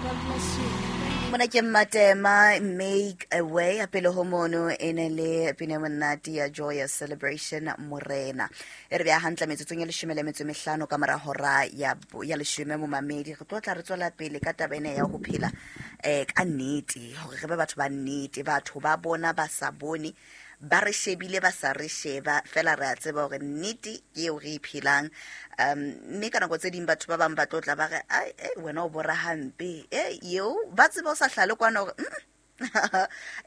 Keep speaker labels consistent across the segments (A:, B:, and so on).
A: God bless you.
B: Mona ke Mmatema, "Make a Way". A pele ho mono e ne le pina e monate ya Joyous Celebration, "Morena". E re beha hantle metsotsong e 15 ka mora hora ya 10. Momamedi, re tlo tla re tswela pele ka taba ena ya ho phela ka nnete, hore re be batho ba nnete. Batho ba bona ba sa bone, ba re shebile ba sa re sheba, fela re a tseba hore nnete ke eo re e phelang. Mme ka nako tse ding batho ba bang ba tlo tla ba re, "Ai, wena o bora hampe." E eo ba tseba o sa hlale kwana hore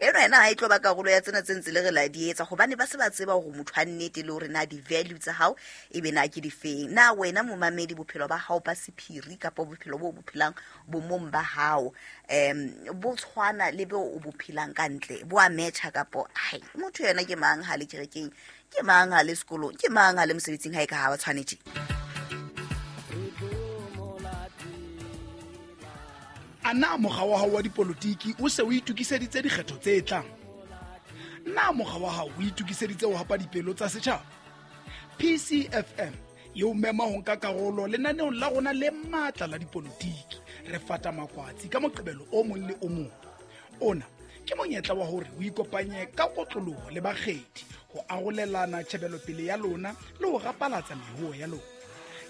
B: eno ena ha e tlo ba karolo ya tsena tse ntse le re la di etsa, gobane ba se ba tseba hore motho a nnete le hore na di-value tsa hao e be na ke difeng. Na wena momamedi, bophelo ba hao ba sephiri kapa bophelo bo bo phelang bomong ba hao bo tshwana le bo o bo phelang ka ntle, bo a matcha kapo hai? Motho yena ke mang ha le kerekeng, ke mang ha le sekolong, ke mang ha le mosebetsing, ha e ka ha ba tshwanetse?
C: A na mokga wa hao wa dipolotiki o se o itokiseditse dikgetho tse tlang? Na mokga wa hao o itokiseditse ho hapa dipelo tsa setjhaba? PCFM e o mema ho nka karolo lenaneong la rona le matla la dipolotiki, Re Fata Makwatsi, ka Moqebelo o mong le o mong. Ona ke monyetla wa hore o ikopanye ka kotloloho le bakgethi ho arolelana tjhebelopele ya lona le ho rapalatsa mehoho ya lona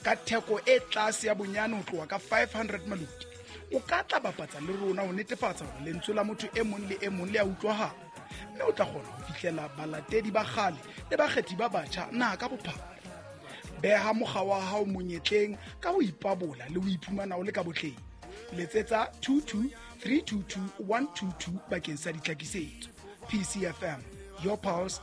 C: ka theko e tlase ya bonyane ho tloha ka 500 maloti. O ka tla bapatsa le rona ho netefatsa hore lentswe la motho e mong le e mong le a utlwahala, mme o tla kgona ho fihlela balatedi ba kgale le bakgethi ba batjha naha ka bophara. Beha mokga wa hao monyetleng ka ho ipabola le ho iphumana o le ka botleng. Letsetsa 22 322 122 bakeng sa ditlhakisetso. PCFM, your pulse.